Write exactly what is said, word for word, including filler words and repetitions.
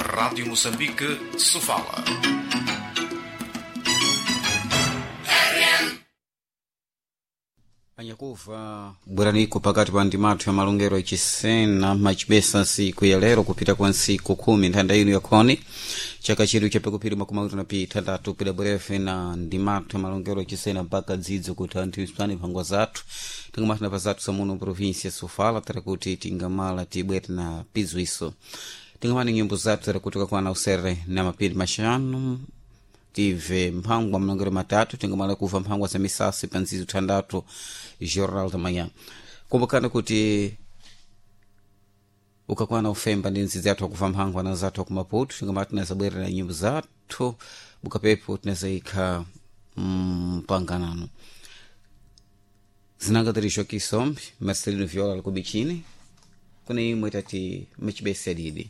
Rádio Moçambique, Sofala. Anyakufa bweraniko pakati pa ndimathu ya malongero echisena macibesa nsiku ya lero kupita kwa nsiku khumi nthanda ino yakhoni chaka chedu chapekupiri makumi awiri na pitandatu pida bwerefe na ndimathu ya malongero echisena mpaka dzidzo kuti anthu isani mphangwa zathu tingamati pa zathu samuno província sofala tara kuti tingamala tibwere na pizwiso tingamati nyimbo zathu tara kuti kakwana usere na mapiri maxanu tive mphangwa malongero matatu tingamala kuva mphangwa za misasi pa nzizo thandatu jornal da manhã kumbukani kuti ukakwana ufemba ndi nzizi yathu akuva mphangwa na zathu akumaputu tingamati tinazabwera na nyimbo zathu bukapepo tinazayikha mpanganano zinanga tiri kisombe marcelino viola likubichini kuna imwe tati machibesi adidi.